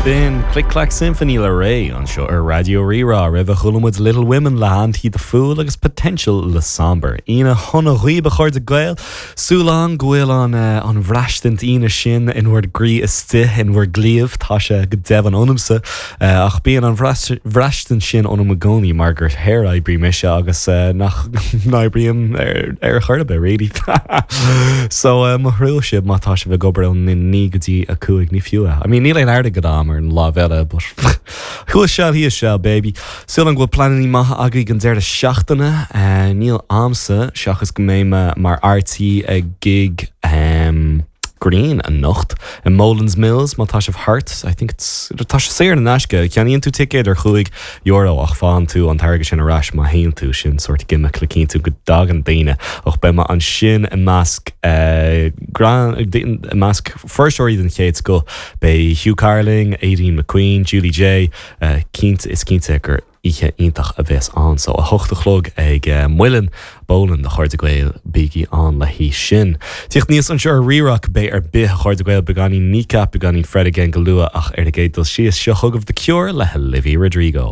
B'in Click Clack Symphony le Raye anseo ar Raidió Rí-Rá. Roimhe chuala muid Little Women le Anti the Fool agus Potential le Somber. Aoine shona dhaoibh a chairde Gael. Súil agam go bhfuil an an bhraistint Aoine sin in bhur gcroí istigh, in bhur gcliabh, tá sé go deimhin ionamsa. Ach bíonn an bhraistint sin ionam i gcónaí mar gur shaoroibrí mise agus nach n-oibrím ar chor ar bith, really. So, mo thrua sibh má tá sibh ag obair ón 9 go dtí 5, ní fiú é. I mean, níl aon airgead agam ar an lámh eile, but thuas seal thíos seal, baby. Súil agam go bhfuil pleananna maithe agaibh don deireadh seachtaine. Níl a'msa, seachas go mbeidh mé mar fhear tí ag gig. Green anocht i Boland's Mills má tá sibh thart. I think it's tá sé saor in aisce. Ceannaíonn tú ticéad ar €5 ach faigheann tú an t-airgead sin ar ais má théann tú. Sin sórt gimmick le cinntiú go dtagann daoine. Ach beidh mé ansin i measc i measc fuirseoirí den chéad scoth. Beidh Hugh Carling, Aideen McQueen, Julie Jay. Cinnte is cinnte gur Oíche iontach a bheas ann. So, 8 a chlog ag Muileann Boland, a chairde Gael, bígí ann le haghaidh sin. Tíocht aníos anseo ar Rí-Rá cibé ar bith, a chairde Gael, beagáinín Kneecap, beagáinín Fred again go luath ach ar an gcéad dul síos, seo chugaibh The Cure le Olivia Rodrigo.